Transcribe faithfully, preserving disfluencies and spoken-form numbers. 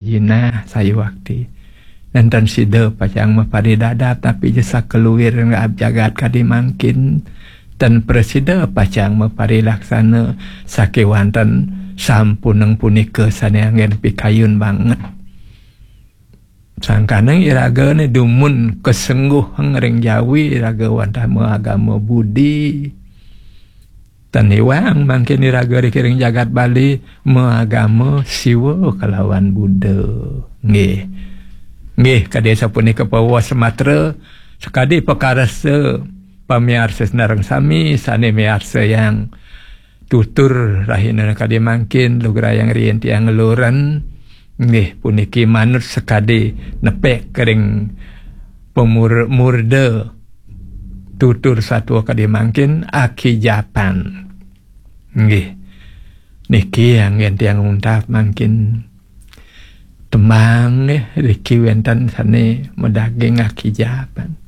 Jinah sayuakti. Nénten sida pacang maparidadap, napi ja sakeluir ngraab jagat kadi mangkin. Ten prasida pacang maparilaksana sakéwanten sampuneng punika sané anggén pikayun banget. Sangkaning iraga né dumun kasengguhang ring jawi iraga wantah maagama Budi. Tan iwang mangkin iraga riki ring jagat Bali maagama Siwa kalawan Buddha. Nggih. Nggih, kadi sapunika pawuh samatra sakadi pakarsa pamiarsa sareng sami sané miarsayang tutur rahina kadi mangkin lugrayang riin tiang ngeluren. Nggih, puniki manut sakadi nepek ring pamur-, murda tutur satua kadi mangkin akijapan. Nggih. Niki anggén tiang untat mangkin tembang nggih, riki wénten sané madaging akijapan.